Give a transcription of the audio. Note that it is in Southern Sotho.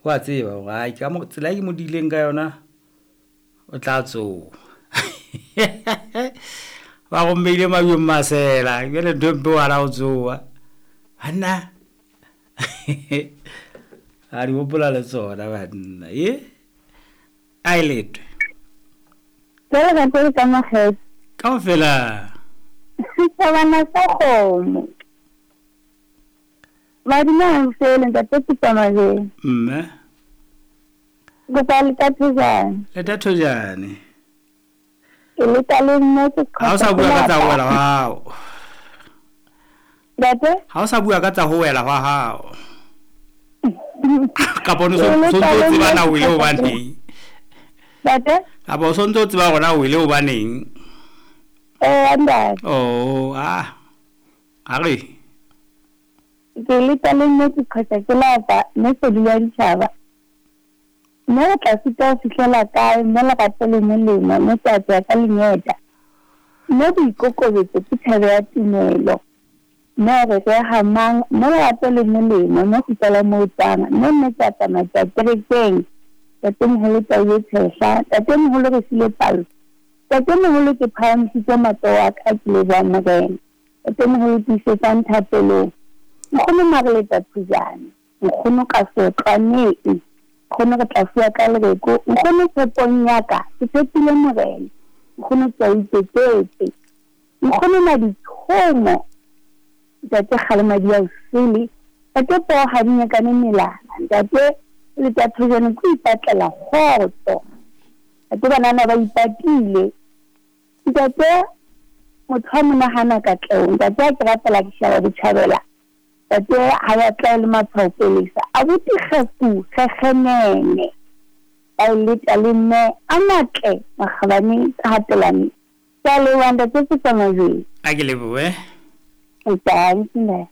Wa tseba hore ai ka mo tsela e ke mo dileng ka yona o tla tsoha. Ba rommeile mabjong masela jale ntho e mpe wa la o tsoha banna. A di hopola le tsona banna e a e letwe. Jwale ka tsebe ka makgetho. Kaofela. Setjhabana sa kgomo. Badimo ha mfele ntate Peter Mabele. Mme. Kopa le ka thojane. Le ta thojane. Ke le ka le mme ke Ha o sa bua ka tsa ho wela hwa hao. Ntate? Ha o sa bua ka tsa ho wela hwa hao. Kapa o ne so ntse o tseba na o ile hobaneng? Ntate? Kapa o sontse o tseba hore na o ile hobaneng? Eh, ntate. Oh, ah. A re. Ke le ka le mme ke qhwetsa ke lapa mme sedi ya ditjhaba. Mme re tla sita ho fihlela kae mme lerato le molemo mme tsa tswa ka lengeta. Mme boikokobetso ke thebe ya tumelo. Mme re reha mang mme lerato le molemo mme kgutlela moo tswang mme mme tsa tsamaya tsa kerekeng. Ntatemoholo tau e tshehla. Ntatemoholo re file palo. Ntatemoholo ke phahamisitse matsoho a ka ke leboha Morena. Ntatemoholo tiisetsang thapelong. Nkgono Mareleta Thujane. Nkgono ka seotlwaneng. Nkgono re tla fuwa ka lereko. Nkgono tshepong ya ka. Ke tshepile Morena. Nkgono ke a ikeketse. Nkgono maditshomo. Ntate Kgalemadi ya osele. Ntate poo ha di nyakane melala. Ntate Leta Thujane ke ipatlela kgotso. Ntate banana ba ipatile. Ntate motho ha monahana katleho. Ntate a ke rapela ke shaba botjhabela. Ntate ha ya tla le matshwao pelesa. Abuti kgefu kgekgenene. Ba e leta le mme a matle makgabane ka hatelane. Ke a leboha ntate Peter Mabele. A ke lebohe. Ntate.